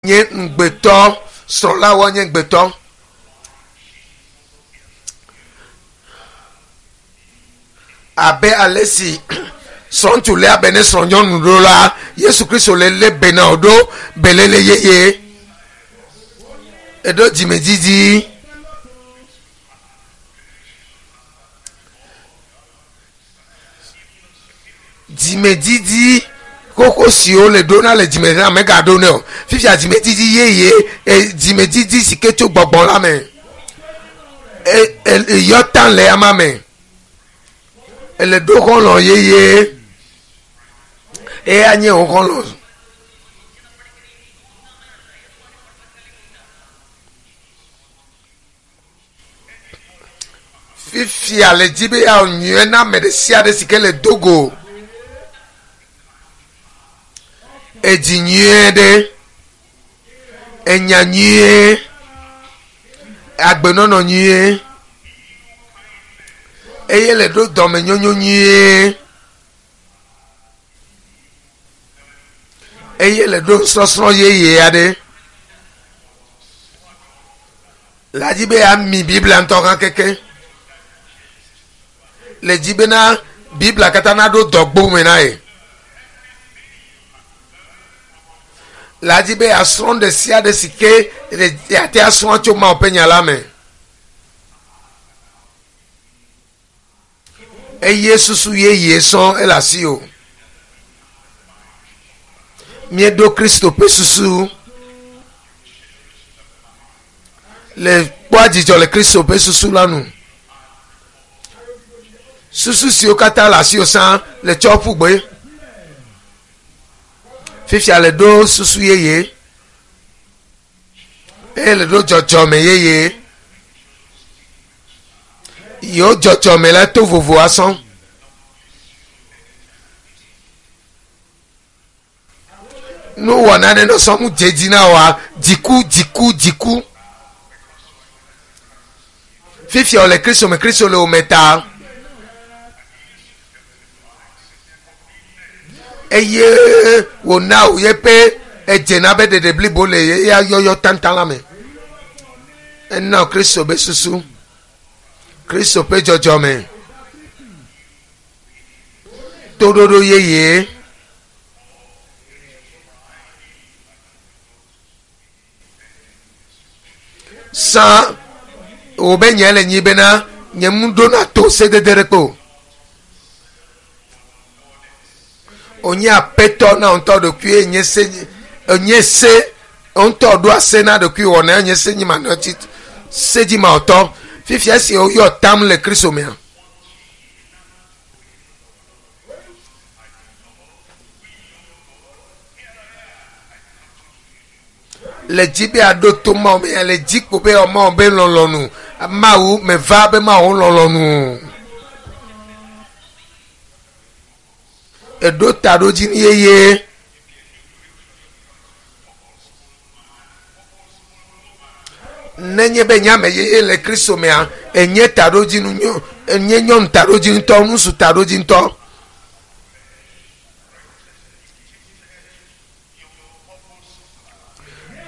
Nye ŋugbetɔ, srɔ̃lawo nye ŋugbetɔ. Abe ale si srɔ̃ŋutsu léa be ne srɔ̃nyɔnu ɖo la, Yesu Kristo le lé be na wò ɖo beléle yeye. Eɖo dzimedidi. Dzimedidi xoxo siwo le ɖona le dzime na megaɖo nɛ o. Fifia dzimedidi yeye, e, dzimedidi si ke tso gbɔgbɔ la me. E, e, yɔ ta le ama me. Ele ɖo xɔlɔ̃ yeye. Eya nye wò xɔlɔ̃. Fifia le dzi be yeawɔ nyuie na ame ɖe sia ɖe si ke le do go. Edzi nyuie ɖe, enya nyuie, agbenɔnɔ nyuie eye le ɖo dɔmenyonyo nyuie eye le ɖo nusɔsrɔ̃ yeye aɖe. Le dzi be yeami Biblia ŋutɔ hã keke. Le dzi bena Biblia katã naɖo dɔgbo me na ye. Le dzi be yeasrɔ̃ ɖe sia ɖe si ke yeate asrɔ̃ tso Mawu ƒe nya la me. Eye susu yeye sɔŋ ele asiwò. Míeɖo Kristo ƒe susu le kpɔa dzidzɔ le Kristo ƒe susu la nu. Susu siwo katã le asiwò sã le tsɔ ƒu gbe. Fifia le ɖo susu yeye eye le ɖo dzɔdzɔme yeye. Yewo dzɔdzɔme la to vovo asɔ. Nuwɔna ɖe nɔ sɔm dze dzi na woa, dziku, dziku, dziku. Fifia wòle Kristo me, Kristo le wò me ta. Eye wòna wò yeƒe edzena be ɖeɖe blibo le eya yɔyɔ taŋtaŋ la me. Ena Kristo be susu, Kristo ƒe dzɔdzɔme, toɖoɖo yeye. Sã wò be nye le nyi bena nye mu ɖona to sedede ɖe kpe o. Onye apetɔ na ŋutɔ ɖokui nye se nye se ŋutɔ ɖoa se na ɖokui wɔna nye se nyi manɔ tsi sedzimawɔtɔ. Fifia esi woyɔ tam le Kristo mea. Le dzi be aɖo to Mawu me le dzi kpo be Mawu be lɔlɔnu. Mawu meva be Mawu lɔlɔnu. Eɖo taɖodzinu yeye. Nenye be nye ame yeye le Kristo mea, enye taɖodzinu nyo, enye nyɔnu taɖodzinutɔ, ŋutsu taɖodzinutɔ.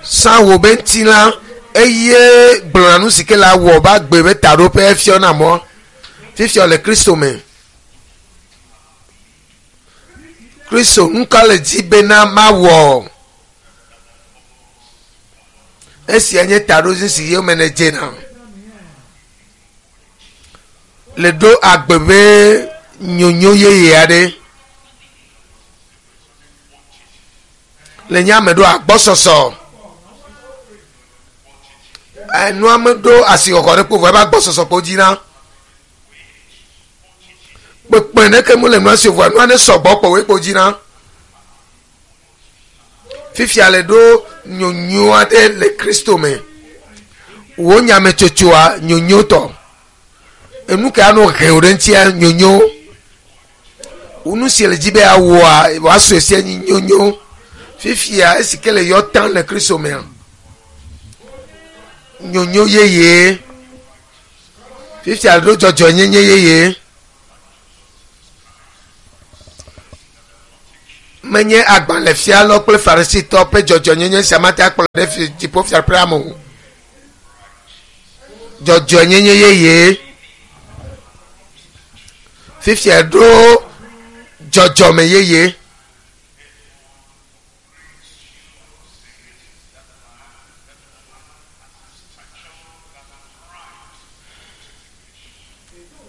Sã wò be ŋutilã eye gblɔna nu si ke la wɔ be agbe be taɖoƒe fiɔna mɔ. Fifia le Kristo me. Kristo nuka le dzi bena mawɔ? Esia nye taɖodzinu si yome nèdzena le ɖo agbe be nyonyo yeye aɖe. Le nye ame ɖo agbɔsɔsɔ. Enua meɖo asixɔxɔ ɖe kpo vɔ ebe agbɔsɔsɔ kpo dzi na. Kpekpe ɖeke mele nua si o vɔa nua ne sɔgbɔ kpɔ woe kpo dzi na. Fifia le ɖo nyonyo aɖe le Kristo me. Wò nyametsotsoa nyonyo tɔ. Enu ke anɔ he wò ɖe ŋutia nyonyo. Nu si le dzi be awɔa wòasɔe sia nyi nyonyo. Fifia esi ke le yɔ tam le Kristo mea nyonyo yeye. Fifia ɖo dzɔdzɔenyenye yeye. Menye agbalẽfialawo kple farisitɔwo ƒe dzɔdzɔenyenye sia mate akplɔ ɖe fi dziƒofiaɖuƒea me o. Dzɔdzɔenyenye yeye. Fifia ɖo dzɔdzɔme yeye.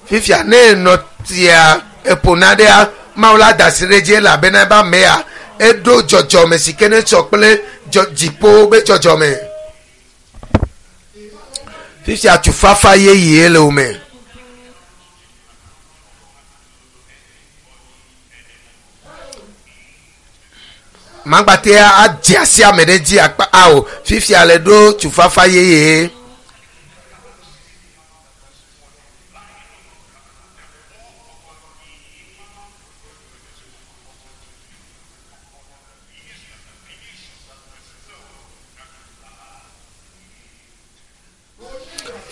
Fifia ne enɔ tia eƒona ɖea, Mawu la da asi ɖe edzi elabena ebe amea eɖo dzɔdzɔme si ke ne sɔ kple dziƒo be dzɔdzɔme. Fifia tufafa yeye le wo me. Magbate adze asi ame ɖe dzi akpa ao. Fifia le ɖo tufafa yeye.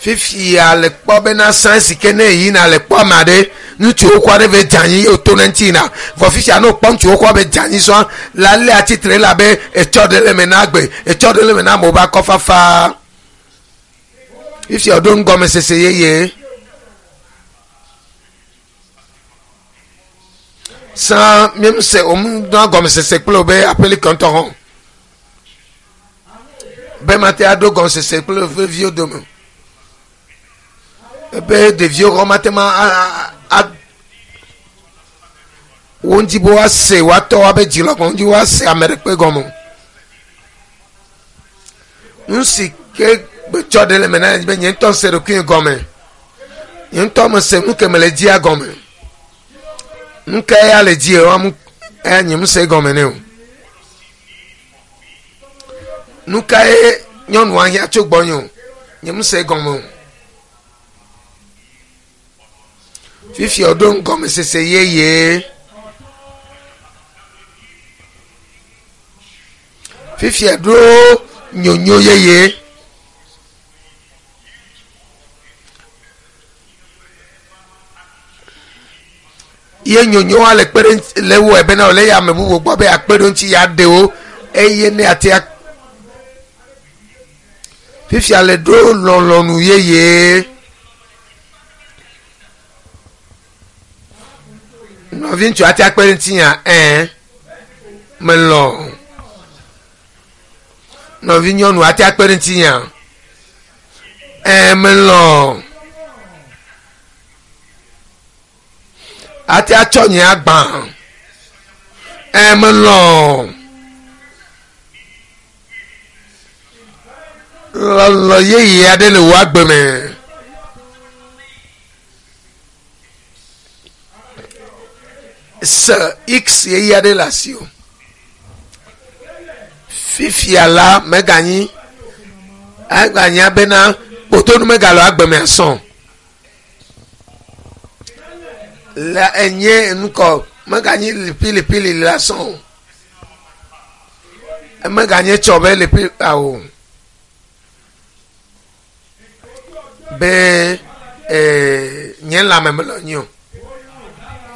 Fifia le kpɔ bena sã si ke ne yina le kpɔ ame aɖe ŋutsu xoxo aɖe va dze anyi ye wòto ne ŋuti yina vɔ fifia ne wòkpɔ ŋutsu xoxoa be dze anyi sɔa la lé atsitre elabe etsɔ ɖe le eme na agbe etsɔ ɖe le eme na amewo be akɔfafa. Fifia wòɖo nugɔmesese yeye. Sã míemse wòmdɔa gɔmesese kple wò be aƒelikɔ ŋutɔ hã o. Be mate aɖo gɔmesese kple woƒe viwo dome. Ebe ɖeviwo hã mate ma a wo ŋuti be woase woatɔ woabe dzilɔgɔ ŋuti woase ame ɖekpe gɔme o. Nu si ke gbetsɔ ɖe le me na be nye ŋutɔ se ɖokuinye gɔme. Nye ŋutɔ mese nu ke mele dzia gɔme. Nu ka ya le dzi wɔm eya nye mese gɔme nɛ o. Nu kae nyɔnua hiã tso gbɔnye o. Nye mese gɔme o. Fifia woɖo ŋgɔmesese yeye. Fifia ɖo nyonyo yeye. Ye nyonyoa le kpe ɖe le wɔe bena wòle ya ame bubu gbɔ be yeakpe ɖe ŋuti yeaɖe wo eye ne yeate fifia le ɖo lɔlɔ̃nu yeye. Nɔviŋutsu ate akpe ɖe ŋutinyea? Ɛ̃, melɔ̃. Nɔvinyɔnu ate akpe ɖe ŋutinyea? Ɛ̃, melɔ̃. Ate atsɔ nye agba? Ɛ̃, melɔ̃. Lɔlɔ̃ yeye aɖe le wò agbe me. Se X yeye aɖe le asiwò. Fifia la meganyi eganya bena kpotonu megale agbe me asɔ o. Le enye nukɔ meganyi lipilipili le asɔ o. Emeganye tsɔ be lipi awo be ee nye lãme mele nyo o.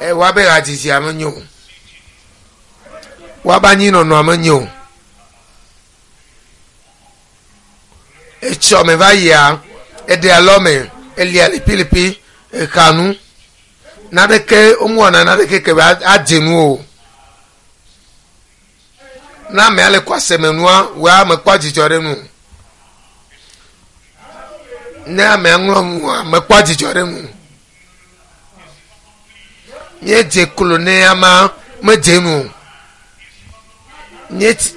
Ewa be hadzidzia menyo o. Woabe anyinɔnɔa menyo o. Etsɔ me va yia, eɖe alɔme, elia lipilipi, exa nu. Naneke womewɔna naneke ke be adze nu o. Ne amea le kɔaseme nua, wòa mekpɔa dzidzɔ ɖe nu o. Ne amea ŋlɔ nua, mekpɔa dzidzɔ ɖe nu o. Míedze klo ne amea medze nu o.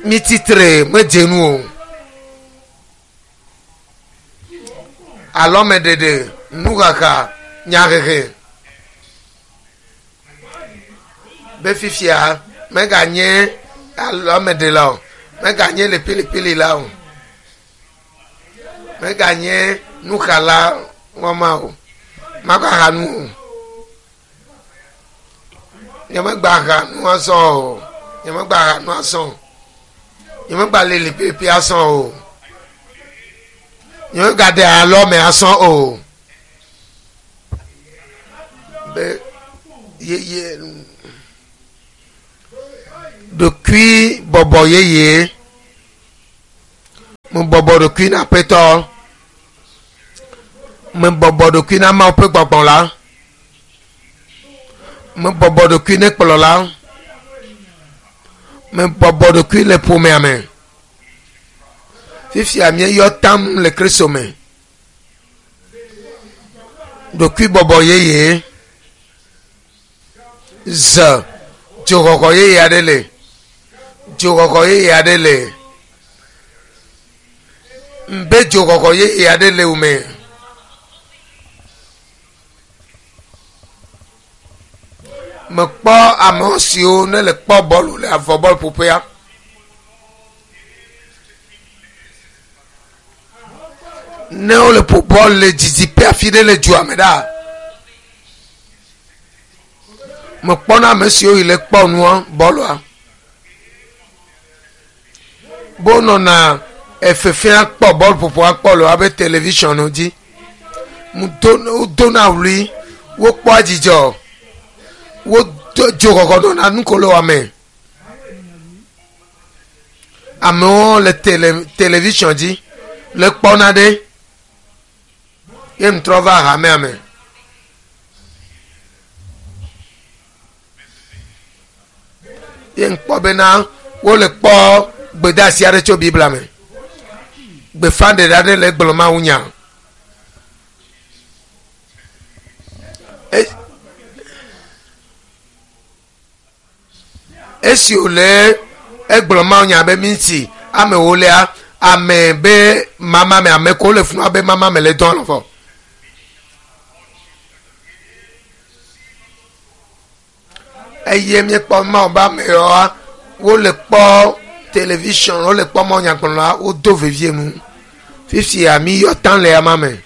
Mítsitre medze nu o. Alɔmeɖeɖe, nuxaxa, nyahehe. Be fifia meganye alɔmeɖela o, meganye lipilipilila o, meganye nuxala wɔma o, magaxa nu o. Nyemegba ha nu azɔ o. Nyemegba ha nu azɔ o. Nyemegba le lipilipi azɔ o. Nyemegaɖe alɔme azɔ o. Be yeye Ɖokui bɔbɔ yeye. Mebɔbɔ ɖokui na Aƒetɔ. Mebɔbɔ ɖokui na Mawu ƒe gbɔgbɔ la. Mebɔbɔ ɖokui ne kplɔla. Mebɔbɔ ɖokui le ƒomea me. Fifia míeyɔ tam le Kristo me. Ɖokuibɔbɔ yeye. Ze dzoxɔxɔ yeye aɖe le. Dzoxɔxɔ yeye aɖe le. Ŋbe dzoxɔxɔ yeye aɖe le wo me. Mekpɔ ame siwo ne le kpɔ bɔlu le avɔ bɔluƒoƒea. Ne wole ƒo bɔl le didiƒe afi ɖe le dua me ɖa, mekpɔna ame siwo yi le kpɔ nua bɔlua be wonɔna efefea kpɔ bɔluƒoƒoa kpɔ le woabe television dzi. Wodona ɣli, wokpɔa dzidzɔ, wo dzoxɔxɔ nɔna nukoloa me. Amewo le tele television dzi le kpɔna ɖe ye ŋtrɔ va hamea me. Ye ŋkpɔ bena wole kpɔ gbedeasi aɖe tso Biblia me. Gbeƒãɖeɖe aɖe le egblɔ Mawu nya. E Esi wòle egblɔ mawunya be minti ame ewolia, ame be mama me ame ko le funua be mama me le dɔn lɔfɔ. Eye míekpɔ Mawu be amewoa, wole kpɔ television, wole kpɔ mawunyagblɔla, wodo vevie nu. Fifia míyɔ taŋ le ama me.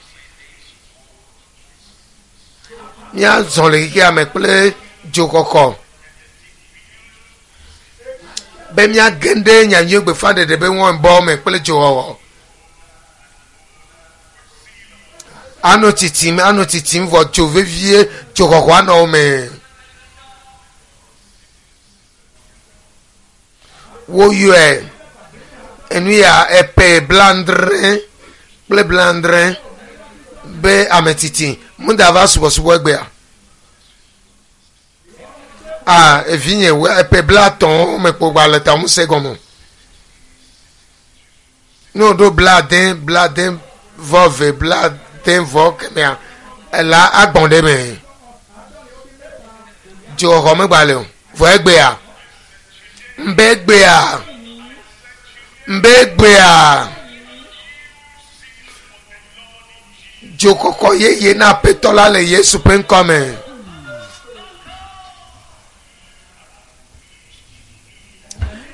Míazɔ le xexea me kple dzokɔkɔ be míage ɖe nyanyui gbeƒãɖeɖe be ŋɔnbɔ me kple dzowɔwɔ. Anɔ tsitsim, anɔ tsitsim vɔ dzo vevie, dzoxɔxɔ anɔ wo me. Woyɔe enu ya epe blandre kple blandre be ame tsitsi muda va subɔsubɔ egbea. Ah, evinye epe blatɔ̃ mekpɔ gba le ta ŋusẽ gɔme. Ne woɖo blade, blade vɔ ve, blade vɔ kemɛa, ela agbɔn ɖe me. Dzoxɔxɔ megba le o. Vɔ egbea, ŋbe egbea, ŋbe egbea, dzokɔkɔ yeye na Aƒetɔ la le Yesu ƒe ŋkɔ me.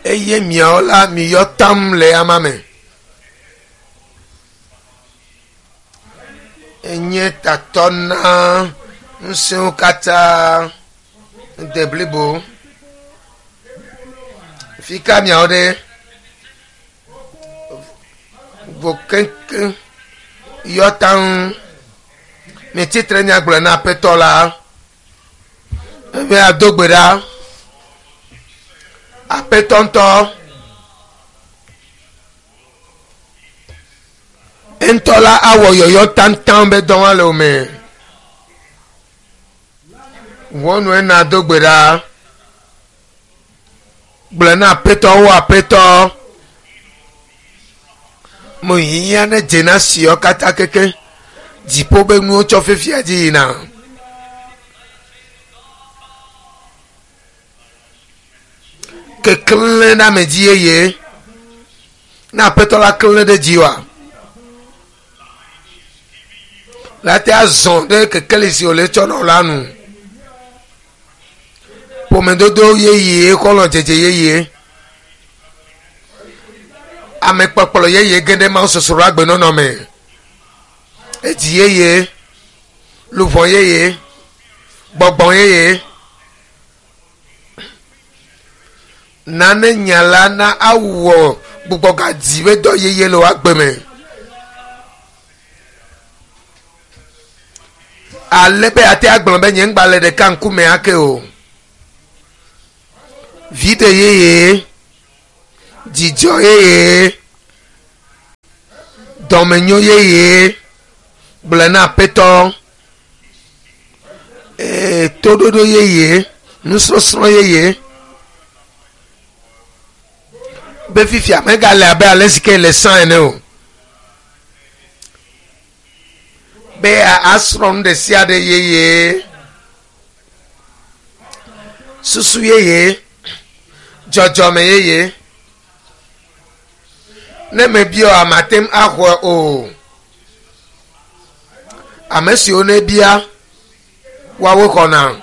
Eye miawo la miyɔ tam le ama me. Enye tatɔ na ŋusẽwo katã de blibo. Fi ka miawo ɖe? Vo keŋkeŋ yɔ taŋ. Mitsitre miagblɔe na Aƒetɔ la. Ebe ado gbe ɖa. Aƒetɔ ŋutɔ. Ŋutɔ la awɔ yɔyɔ taŋtaŋ be dɔ le wo me. Ʋɔnu ena do gbe ɖa. Gblɔ na aƒetɔ wo aƒetɔ. Mo hiã ne dze na siɔ katã keke. Dziƒo be nuwo tsɔ fifia dzi yina. Keklẽ ɖe ame dzi yeye. Ne aƒetɔ la klẽ ɖe dzi wa. La te azɔ ɖe kekeli si wòle tsɔ nɔ la nu. Ƒomedodo yeye, xɔlɔ̃dzedze yeye, amekpɔkplɔ yeye ge ɖe mawusosroɖagbenɔnɔ me, edzi yeye, luʋɔ yeye, gbɔgbɔ yeye. Nane nya la na awɔ gbugbɔgadzi ƒe dɔ yeye le wò agbe me. Ale be ate agblɔ be nye ŋgba le ɖeka ŋkume ake o. Viɖe yeye, dzidzɔ yeye, dɔmenyo yeye, gblɔe na Aƒetɔ. Ee, toɖoɖo yeye, nusɔsrɔ̃ yeye. Be fifia megale abe ale si ke le sã ene o. Be asrɔ̃ nu ɖe sia ɖe yeye. Susu yeye, dzɔdzɔme yeye. Ne mebiɔ mate ŋu axɔe o. Ame siwo nebia, woawoe xɔna.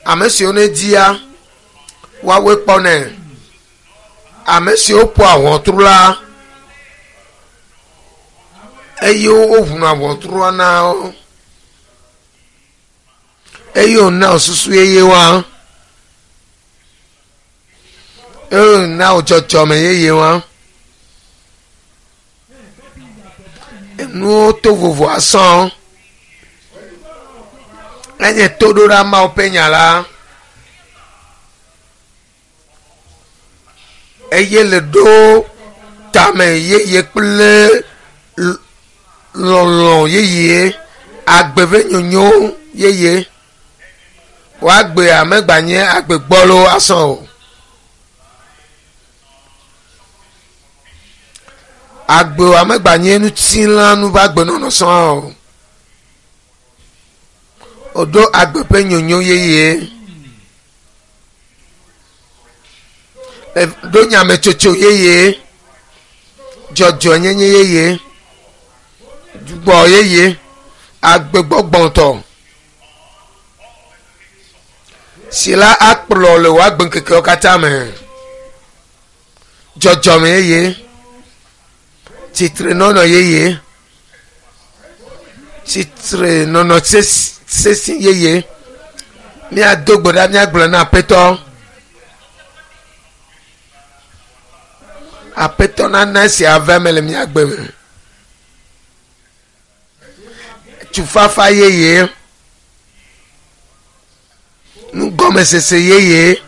Ame siwo nedia, woawoe kpɔnɛ. Ame siwo ƒoa ʋɔtru la, eye woʋuna ʋɔtrua na wo. Eye wòna wò susu yeye wa. Eye wòna wò dzɔdzɔme yeye wa. Enuwo to vovo asɔ. Enye toɖoɖa Mawu ƒe nya la. Eye le ɖo tame yeye kple lɔlɔ̃ yeye, agbe ƒe nyonyo yeye. Woagbea megbanye agbe gbɔlo asɔ o. Agbewa megbanye ŋutilãnu ƒe agbenɔnɔ sɔŋ o. Woɖo agbe ƒe nyonyo yeye. Ɖo nyametsotso yeye, dzɔdzɔenyenye yeye, gbɔ yeye, agbegbɔgbɔtɔ si la akplɔ le wò agbeŋkekewo katã me. Dzɔdzɔme yeye, tsitrenɔnɔ yeye, tsitrenɔnɔ sesi yeye. Míado gbe ɖa míagblɔ na Aƒetɔ. Aƒetɔ nana esia ava eme le mía gbe me. Tufafa yeye, nugɔmesese yeye,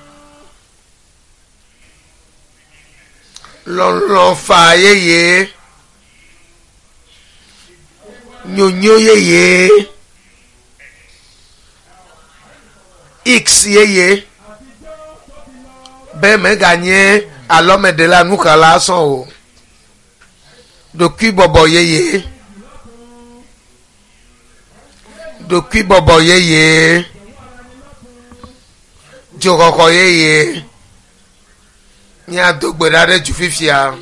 lɔlɔ̃ faa yeye, nyonyo yeye, X yeye be meganye alɔmeɖela nuxala sɔ o. Ɖokuibɔbɔ yeye. Ɖokuibɔbɔ yeye. Dzoxɔxɔ yeye. Míado gbe ɖa ɖe dzu fifia.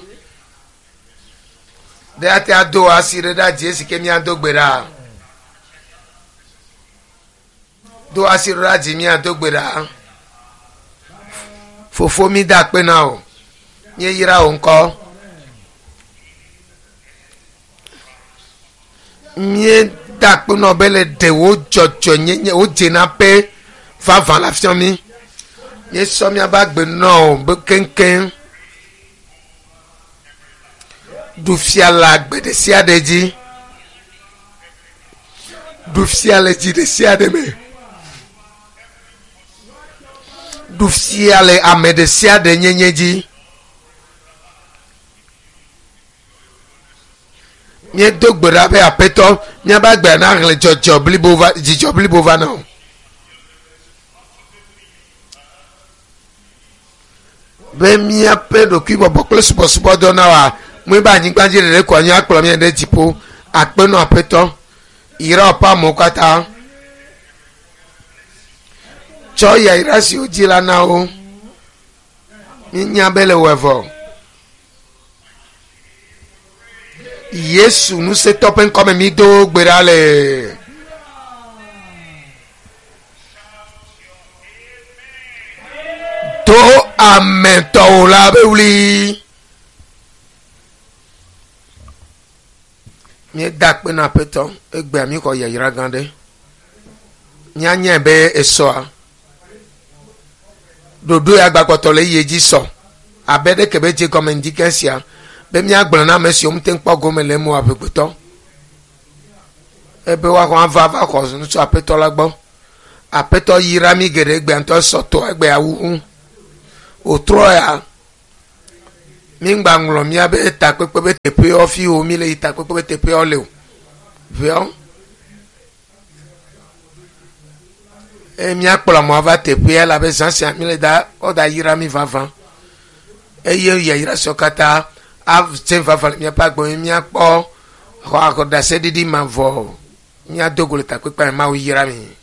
Ɖe ate ado asi ɖe ɖa dzi esi ke míado gbe ɖa. Do asi ɖe ɖa dzi míado gbe ɖa. Fofo mi da akpe na wò. Míeyra wò ŋkɔ. Míeda akpe na wò be le ɖe wò dzɔdzɔenyenye, wò dzenaƒe vavã la fia mí. Míesɔ míaƒe agbe nɔ wò be keŋkeŋ. Ɖu fia le agbe ɖe sia ɖe dzi. Ɖu fia le dzi ɖe sia ɖe me. Ɖu fia le ame ɖe sia ɖe nyenye dzi. Míedo gbe ɖa be Aƒetɔ, míaƒe agbea naxlẽ dzɔdzɔ blibo va, dzidzɔ blibo va na wò. Be míaƒe ɖokuibɔbɔ kple subɔsubɔdɔ na wòa, mɔe be anyigba dzi ɖeɖe ko anyi akplɔ mí ɖe dziƒo. Akpe nɔ Aƒetɔ. Yra wòƒe amewo katã. Tsɔ yayra si wodzi la na wo. Míenya be le wɔ vɔ. Yesu ŋusẽtɔ ƒe ŋkɔme mi do gbe ɖa le. Do ametɔwo la be wli. Míeda akpe na Aƒetɔ egbea míxɔ yayra gã ɖe. Míanyae be esɔa. Ɖoɖo ya gbagbɔtɔ le eye dzi sɔ abe ɖeke be dze gɔme ŋdi ke sia be míagblɔ na ame siwo mete ŋu kpɔ gome le eme o amegbetɔ ebe woaxɔ ava va xɔ nu tso Aƒetɔ la gbɔ. Aƒetɔ yra mí geɖe egbea ŋutɔ esɔ to egbea wu. Wòtrɔ ya mi ŋgba ŋlɔ miabe takpekpe be teƒewo fi wo mi le yi takpekpe be teƒewo le o. Ʋeɔ. Eye míakplɔ amewo va teƒea elabe zã sia mi le da woda yra mi vavã. Eye yayra siawo katã adze vavã le míaƒe agbe me míakpɔ xɔ axɔ ɖaseɖiɖi mavɔ. Míado go le takpekpea me Mawu yra mi.